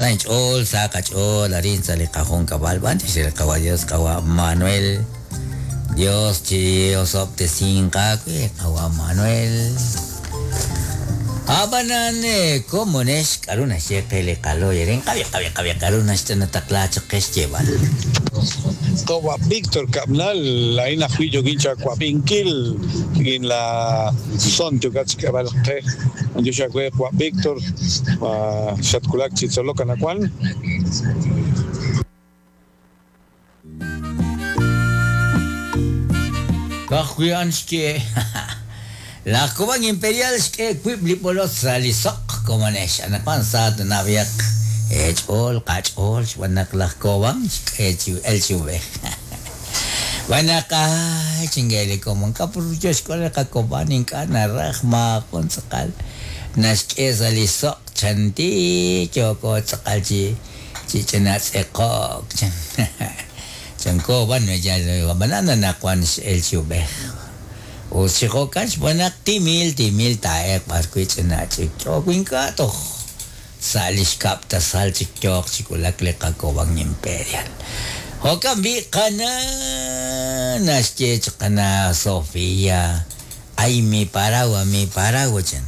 Sa inch'ool, sa qach'ool arin sa' li qajunkab'al b'antiox re li Qawa' Dios Qawa' Manuel. Dios chi osob'tesinq aawe Qawa' Manuel. Ab'anan komonex k'aru naxye qe li qalo'y arin qab'i qab'i qab'i k'aru naxtaqla chaq qe xyeeb'al. Qawa' Víctor Kab'nal, laa'in ajwi' yookin chawab'inkil rik'in la son yookat xk'eeb'al qe. B'antiox aawe Qawa' Víctor, xatwulak chi tzolok anaqwan. Ka'ajwi' a'an xye, Laj Cobán Imperial xk'e wiib' li b'olotz sa' li soq, komonex. Anaqwan sa tanab'ihaq eech'ool, qach'ool, xb'aan naq laj Cobán xk'e chi el chi ub'ej. Xb'aan naq, ay, chinge li komon, k'a' yo xk'ool li qaCobán ink'a' naraj maajun tz'aqal naxk'e sa' li soq, chanti yooko tz'aqal chi Chi ch'ina tz'eqo'k chan. Chanko b'an yal ab'anan anaqwan x'el chi ub'ej. Us chi jo'kan xb'aan naq timil timil taa'elq b'arwi' ch'ina ch'ikch'o wi ink'a' toj sa' li xkab' tasal chik yooq chi wulak li qaKoban Imperial. Jo'kan b'i' qana' naxye chaq qana' Sofia, Ay mi paragua, mi paragua chan.